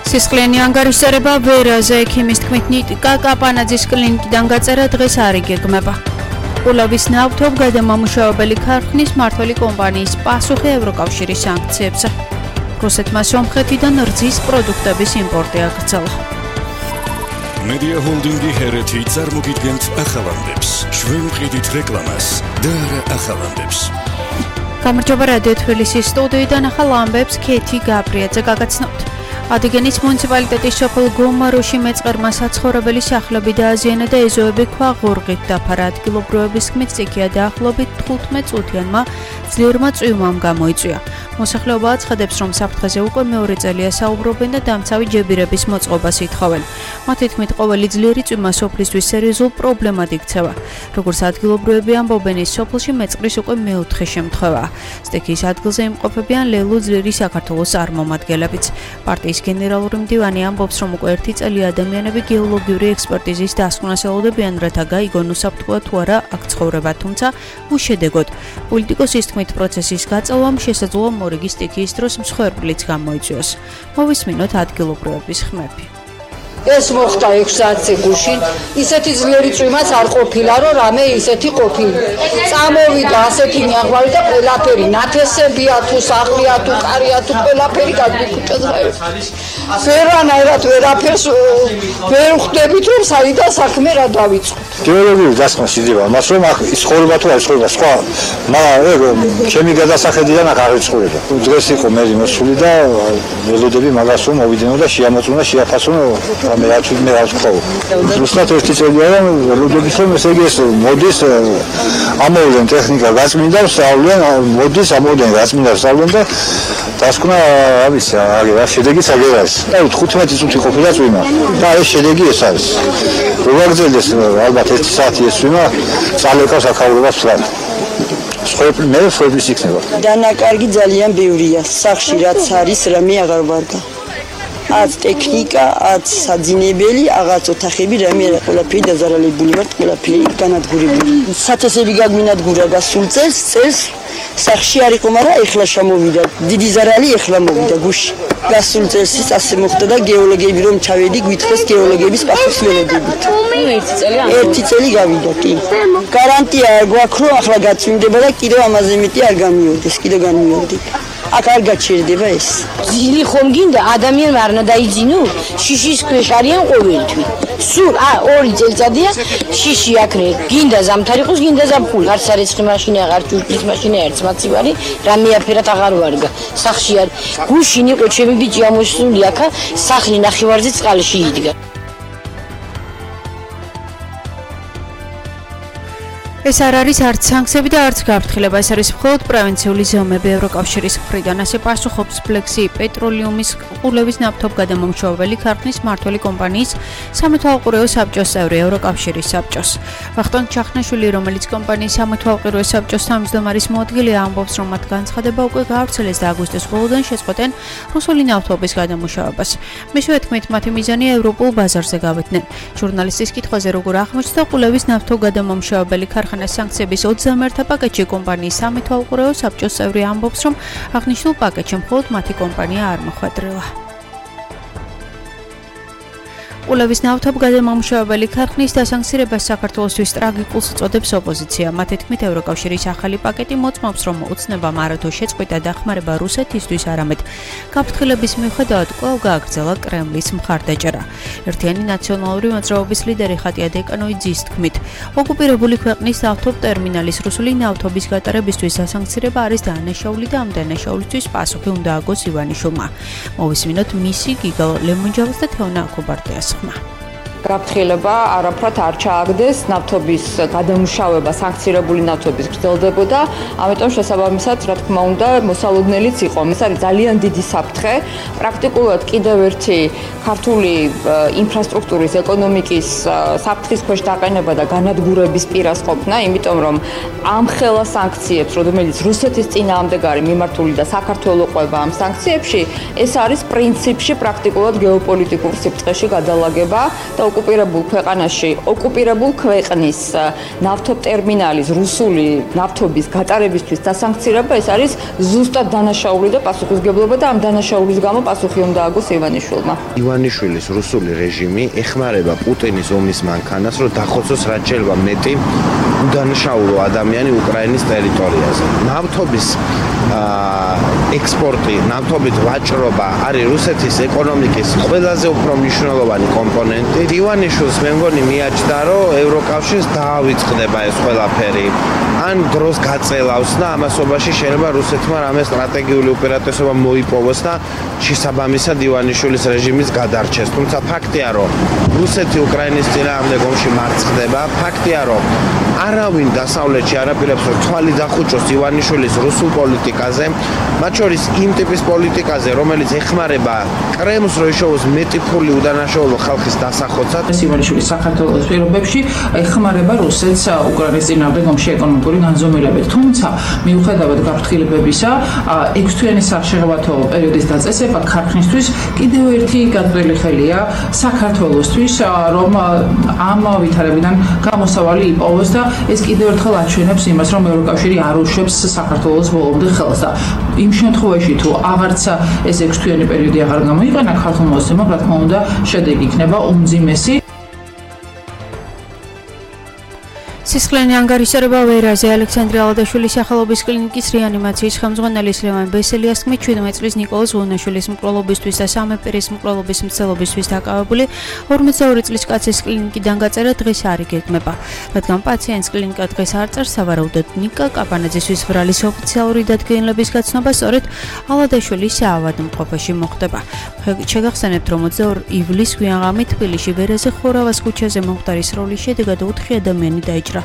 სისხლიანი ანგარიშწერება ვერაზე ექიმის თქმით ნიკა კაპანაძის კლინიკიდან გაწერა დღეს არ იგეგმება. ყულავის ნავთობგადამამუშავებელი ქარხნის მმართველი კომპანიის პასუხი ევროკავშირის სანქციებზე. რუსეთმა სომხეთიდან რძის პროდუქტების იმპორტი აკრძალა. მედია ჰოლდინგი ჰერეთი წარმოგიდგენთ ახალამდებს. ჩვენ ვყიდით რეკლამას და არა ახალამდებს. გამარჯობა რადიო თბილისის სტუდიიდან ახალ ამბებს ქეთი გაბრიაძე გაგაცნობთ. ადიგენის მუნიციპალიტეტის სოფელ გომაროში მეწყერმა საცხოვრებელი სახლები დააზიანა და ეზოები ქვაღორღით დაფარა. ადგილობრივების თქმით სტიქია დაახლოებით 15 წუთიანმა ძლიერმა წვიმამ გამოიწვია. მოსახლეობა აცხადებს, რომ საფრთხეზე უკვე მეორე წელია საუბრობენ და დამცავი ჯებირების მოწყობას ითხოვენ. მათი თქმით, ყოველი ძლიერი წვიმა სოფლისთვის სერიოზულ პრობლემად იქცევა. როგორც ადგილობრივები ამბობენ, ის სოფელში მეწყრის უკვე მეოთხე შემთხვევაა. სტიქიის ადგილზე იმყოფებიან ლელუ ძლიერი საქართველოს წარმომადგენლებიც. პარტიის გენერალური მდივანი ამბობს, რომ უკვე 1 წელი ადამიანები გეოლოგიური ექსპერტიზის დასკვნას ელოდებიან, რათა გაიგონ უსაფრთხოა თუ არა აქ ცხოვრება, თუმცა უშედეგოდ. პოლიტიკოსის თქმით, პროცესის გაწევამ შესაძლოა მორიგი სტიქიის დროს მსხვერპლიც გამოიწვიოს. მოვისმინოთ ადგილობრივების ხმები. ეს მოხდა 6 საათზე გუშინ, ისეთი ძლიერი წვიმაც არ ყოფილა, რომ რამე ისეთი ყოფილი. წამოვიდა ასეთი ნიაღვალი და ყველაფერი, ნათესებია თუ სახლია თუ კარია თუ ყველაფერი გადმიკუჭდა. ვერანაირად ვერაფერს ვერ ხვდებით, რომ საიდან საქმე რა დავიწყოთ. გეოლოგიური დასკვნა შეიძლება, მას რომ აქ ის ცხოვრება თუ არ ცხოვრება, სხვა, მაგრამ ჩემი გადასახედიდან აქ არ ცხოვრება. დღეს იყო მერი მოსული და ველოდები მაგას რომ მოვიდნენ და შეამოწმუნა, შეაფასონა მე რა ვთქვა. ზუსტად 1 წელია რომ ველოდების რომ ესე იგი ეს მოდის ამოვლენ ტექნიკა გაწმინდა, სწავლენ, მოდის ამოვლენ გაწმინდა, სწავლენ და დასკვნა რა ვიცი, რა შედეგიც აგერა ეს. და 15 წუთი ყოფილა წვიმა და ეს შედეგი ეს არის. რო გაგრძელდეს ალბათ 1 საათი ეს წვიმა წალეკავს აქაურებას ვთქვათ. მე ვფრობლის იქნება. დანაკარგი ძალიან ბევრია. სახში რაც არის, რამე აღარ ვარგა. აც ტექნიკა, აც საძინებელი, აღაც ოთახები, რამე არა, ყველაფერი დაზარალებული ვართ, ყველაფერი განადგურებული. სათესები გაგვინადგურა გასულ წელს, სახში არ იყო, მაგრამ ეხლა შემოვიდა. დიდი ზარალი ეხლა მოვიდა გუში. გასულ წელს ის ასე მოხდა და გეოლოგები რომ ჩავედი, გვითხრეს გეოლოგების პასუხს ველოდებით. 1 წელი გავიდა, კი. გარანტია გვაქვს, რომ ახლა გაწმინდება და კიდევ ამაზე მეტი არ გამიორდეს, კიდევ განმიორდება. აქ არ გაჩერდება ეს. ძილი ხომ გინდა ადამიანმა არ უნდა დაიძინო? შიშის ქვეშ არიან ყოველთვის. სულ 2 წელიწადია შიში აქნე. გინდა ზამთარი ყოს, გინდა ზაფხული. არც სარეცხი მაშინა, არც ჭურჭლის მაშინა, არც მაცივარი, რამე აფერად აღარ ვარგა. სახში არ. გუშინ იყო ჩემი ბიჭი ამოსული აქა, სახლი ნახევარზე წყალში იდგა. ეს არ არის არც სანქციები და არც გაფრთხილება, ეს არის მხოლოდ პრევენციული ზომები. ევროკავშირის მხრიდან ასე პასუხობს ფლექსი პეტროლიუმის ყულევის ნავთობგადამამუშავებელი ქარხნის მმართველი კომპანიის სამეთვალყურეო საბჭოს წევრი ევროკავშირის საბჭოს. ვახტანგ ჩახნაშვილი, რომელიც კომპანიის სამეთვალყურეო საბჭოს თავმჯდომარის მოადგილეა, ამბობს, რომ მათ განცხადება უკვე გაავრცელეს და აგვისტოს ბოლოდან შეწყვეტენ რუსული ნავთობის გადამუშავებას. მისივე თქმით, მათი მიზანია ევროპულ ბაზარზე გავედნენ. ჟურნალისტის კითხვაზე, როგორ აღმოჩნდა ყულევის ნავთობგადამამუშავებელი ქარხნის სანქციების 21 პაკეტში კომპანიის სამეთვალყურეო საბჭოს წევრი ამბობს, რომ აღნიშნულ პაკეტში მხოლოდ მათი კომპანია არ მოხვედრილა. ყულევის ნავთობგადამამუშავებელი ქარხნის დასანქცირებას საქართველოსთვის ტრაგიკულს უწოდებს ოპოზიცია. მათი თქმით, ევროკავშირის ახალი პაკეტი მოწმობს, რომ ოცნებამ არათუ შეწყვიტა დახმარება რუსეთისთვის, არამედ გაფრთხილების მიუხედავად კვლავ გააგრძელა კრემლის მხარდაჭერა. ერთიანი ნაციონალური მოძრაობის ლიდერი ხატია დეკანოიძის თქმით, ოკუპირებული ქვეყნის ნავთობტერმინალის რუსული ნავთობის გატარებისთვის დასანქცირება არის დანაშაული და ამ დანაშაულისთვის პასუხი უნდა აგოს ივანიშვილმა. მოვისმინოთ მისი გიგა ლემონჯავას და თეონა აკობარდიას. გაფრთხილება არაფრად არ ჩააგდეს, ნავთობის გადამუშავება სანქცირებული ნავთობის გრძელდებოდა, ამიტომ შესაბამისად, რა თქმა უნდა, მოსალოდნელიც იყო. ეს არის ძალიან დიდი საფრთხე. პრაქტიკულად კიდევ ერთი ქართული ინფრასტრუქტურის ეკონომიკის საფრთხის ქვეშ დაყენება და განადგურების პირას ყოფნა, იმიტომ რომ ამ ხელა სანქციებს, რომელიც რუსეთის წინააღმდეგ არის მიმართული და საქართველოს ყვება ამ სანქციებში, ეს არის პრინციპში პრაქტიკულად გეოპოლიტიკურ სიფრთხეში გადალაგება და ოკუპირებულ ქვეყანაში ოკუპირებულ ქვეყნის ნავთობტერმინალის რუსული ნავთობის გატარებისთვის დასანქცირება ეს არის ზუსტად დანაშაული და პასუხისგებლობა და ამ დანაშაულის გამო პასუხი უნდა აგოს ივანიშვილმა. ივანიშვილის რუსული რეჟიმი ეხმარება პუტინის ომის მანქანას, რომ დახოცოს რაც შეიძლება მეტი უდანაშაულო ადამიანი უკრაინის ტერიტორიაზე. ნავთობის ექსპორტი, ნავთობით ვაჭრობა არის რუსეთის ეკონომიკის ყველაზე უფრო მნიშვნელოვანი კომპონენტი. ივანიშვილს მე მგონი მიაჩნდა, რომ ევროკავშირს დაავიწყდება ეს ყველაფერი. ან დროს გაწელავს და ამასობაში შეიძლება რუსეთმა რამე სტრატეგიული უპირატესობა მოიპოვოს და შესაბამისად ივანიშვილის რეჟიმის გადარჩეს. თუმცა ფაქტია, რომ რუსეთი უკრაინის წინააღმდეგ ომში მარცხდება. ფაქტია, რომ არავინ დასავლეთში არაპირებს რომ თვალი დახუჭოს ივანიშვილის რუსულ პოლიტიკაზე, მათ შორის იმ ტიპის პოლიტიკაზე, რომელიც ეხმარება კრემლს, რომ იშოვოს მეტი ფული უდანაშაულო ხალხის დასახოცად. ივანიშვილი საქართველოს პირობებში ეხმარება რუსეთს უკრაინის წინააღმდეგ ომში ეკონომიკური განზომილებით. თუმცა მიუხედავად გაფრთხილებებისა, 6 თვიანი სახშეღავათო პერიოდის დაწესება ქარხნისთვის კიდევ ერთი გაწველი ხელია საქართველოსთვის, რომ ამ ვითარებიდან გამოსავალი იპოვოს და ეს კიდევ ერთხელ აჩვენებს იმას, რომ ევროკავშირი არ უშვებს საქართველოს ბოლომდე ხელს და იმ შემთხვევაში თუ აღარც ეს 6 თვიანი პერიოდი აღარ გამოიყენა ქართულ მოსწრებამ, რა თქმა უნდა, შედეგი იქნება უმძიმესი. სისხლიანი ანგარიშსარება ვერაზე ალექსანდრე ალადაშვილის სახელობის კლინიკის რეანიმაციის ხელმძღვანელი ლევან ბესელიას თქმით 17 წლის ნიკოლოზ ვონაშვილის მკვლელობისთვის და სამეფერის მკვლელობის მცდელობისთვის დაკავებული 42 წლის კაცის კლინიკიდან გაწერა დღეს არ იგეგმება, რადგან პაციენტს კლინიკა დღეს არ წერს. სავარაუდოდ ნიკა კაპანაძისთვის ბრალის ოფიციალური დადგენილების გაცნობა სწორედ ალადაშვილის საავადმყოფოში მოხდება. შეგახსენებთ, რომ 22 ივლისს გვიანღამით თბილისში ვერაზე ხორავას ქუჩაზე მომხდარის სროლის შედეგად 4 ადამიანი დაიჭრა.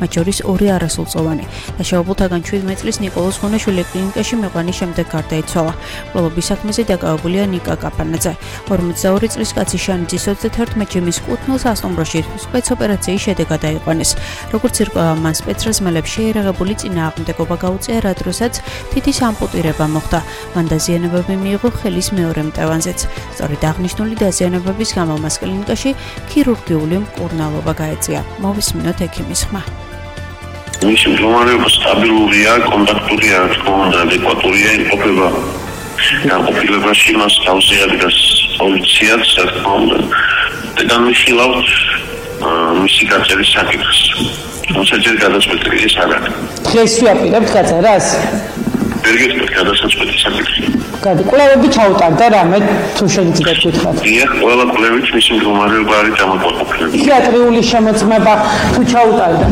მათ შორის 2 არასრულწლოვანი. დაშავებულთაგან 17 წლის ნიკოლოზ ვონაშვილი კლინიკაში მიყვანის შემდეგ გარდაიცვალა. მკვლელობის საქმეზე დაკავებულია ნიკა კაპანაძე. 42 წლის კაცი შანიძის 31 ჯიმის კუთვნილს ასტუმროში სპეცოპერაციის შედეგად დაიყვანეს. როგორც ირკვევა, მან სპეცრაზმელებს შეერაღებული წინააღმდეგობა გაუწია, რა დროსაც თითის ამპუტირება მოხდა. მან დაზიანებები მიიღო ხელის მეორე მტევანზეც. სწორედ აღნიშნული დაზიანებების გამო მას კლინიკაში ქირურგიული მკურნალობა გაეწია. მოვისმინოთ ექიმის ხმა. მისი მდგომარეობა სტაბილურია, კონტაქტურია, თქო უნდა ადეკვატურია, იმყოფება განყოფილებაში, მას თავზე ადგას პოლიციაც, თქო უნდა და განვიხილავთ მისი გაწერის საკითხს. თუმცა ჯერ გადაწყვეტილი ეს არ არის. დღეს ვაპირებთ გაწერას? ვერ გეტყვით გადასაწყვეტი საკითხი. კვლევები ჩაუტარდა რამე თუ შეგიძლიათ გითხრათ? დიახ, ყველა კვლევით მისი მდგომარეობა არის დამაკმაყოფილებელი. ფსიქიატრიული შემოწმება თუ ჩაუტარდა?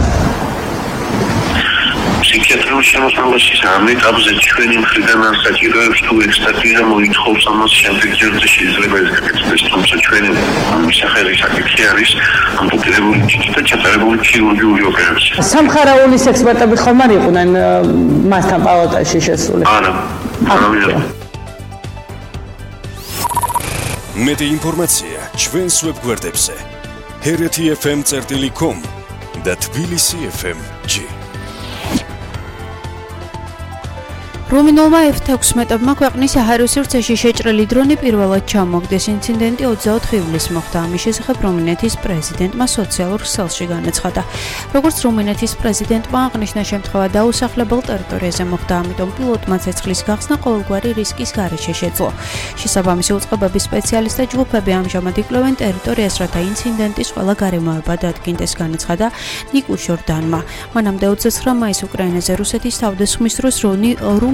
ფსიქიატრიული შემოწმებაში ამ ეტაპზე ჩვენი მხრიდან არ საჭიროებს თუ ექსპერტიზა მოითხოვს ამას შემდეგ ჯერზე შეიძლება ეს გაკეთდეს, თუმცა ჩვენი მისახელი საკითხი არის ამპუტირებული თითი და ჩატარებული ქირურგიული ოპერაცია. სამხარაულის ექსპერტები ხომ არ იყვნენ მასთან პალატაში შესული? არა. მეტი ინფორმაცია ჩვენს ვებგვერდებზე hereti.fm.com და tbilisi.fm.g. რუმინულმა F-16-მა ქვეყნის საჰაერო სივრცეში შეჭრილი დრონი პირველად ჩამოგდეს. ინციდენტი 24 ივლისს მოხდა. ამის შესახებ რუმინეთის პრეზიდენტმა სოციალურ ქსელში განაცხადა. როგორც რუმინეთის პრეზიდენტმა აღნიშნა, შემთხვევა დაუსახლებელ ტერიტორიაზე მოხდა, ამიტომ პილოტმა ცეცხლის გახსნა ყოველგვარი რისკის გარეშე შეძლო. შესაბამისი უწყებების სპეციალისტთა ჯგუფები ამჟამად იკვლევენ ტერიტორიას, რათა ინციდენტის ყველა გარემოება დადგინდეს, განაცხადა ნიკუ შორდანმა. მანამდე 29 მაისს უკრაინაზე რუსეთის თავდასხმის დროს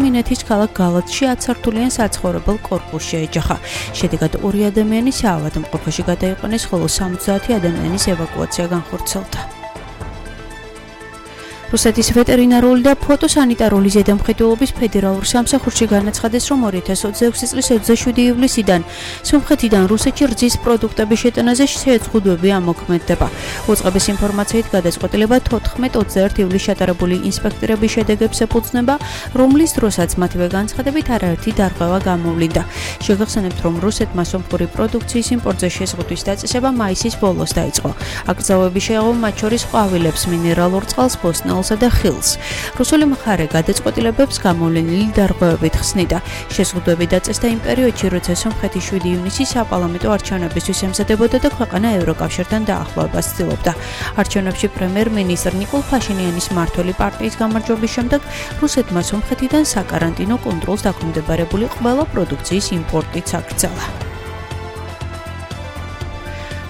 რუმინეთის ქალაქ გალათში 10 სართულიან საცხოვრებელ კორპუსს შეეჯახა. შედეგად 2 ადამიანი საავადმყოფოში გადაიყვანეს, ხოლო 70 ადამიანის ევაკუაცია განხორციელდა. რუსეთის ვეტერინარული და ფოტოსანიტარული ზედამხედველობის ფედერალურ სამსახურში განაცხადეს, რომ 2026 წლის 27 ივლისიდან სომხეთიდან რუსეთში რძის პროდუქტების შეტანაზე შეზღუდვები ამოქმედდება. უწყების ინფორმაციით გადაწყვეტილება 14-21 ივლისს ჩატარებული ინსპექტორების შედეგებს ეფუძნება, რომლის დროსაც მათივე განცხადებით არაერთი დარღვევა გამოვლინდა. შეგახსენებთ, რომ რუსეთმა სომხური პროდუქციის იმპორტზე შეზღუდვის დაწესება მაისის ბოლოს დაიწყო. აკრძალვები შეეღო მათ შორის ყვავილებს, მინერალურ წყალს, ბოსტნეულს საშუალოსა და ხილს. რუსული მხარე გადაწყვეტილებებს გამოვლენილი დარღვევებით ხსნიდა. შეზღუდვები დაწესდა იმ პერიოდში, როცა სომხეთი 7 ივნისის საპარლამენტო არჩევნებისთვის ემზადებოდა და ქვეყანა ევროკავშირთან დაახლოებას ცდილობდა. არჩევნებში პრემიერ-მინისტრ ნიკოლ ფაშინიანის მმართველი პარტიის გამარჯვების შემდეგ რუსეთმა სომხეთიდან საკარანტინო კონტროლს დაქვემდებარებული ყველა პროდუქციის იმპორტიც აკრძალა.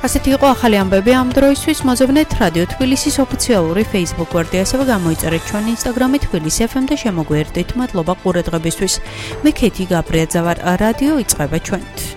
ასეთი იყო ახალი ამბები ამ დროისთვის. მოზებნეთ რადიო თბილისის ოფიციალური Facebook გვერდი, ასევე გამოიწერეთ ჩვენ Instagram-ით თბილისი FM და შემოგვიერთდით. მადლობა ყურადღებისთვის. მე ქეთი გაბრიაძე ვარ. რადიო იწყება ჩვენით.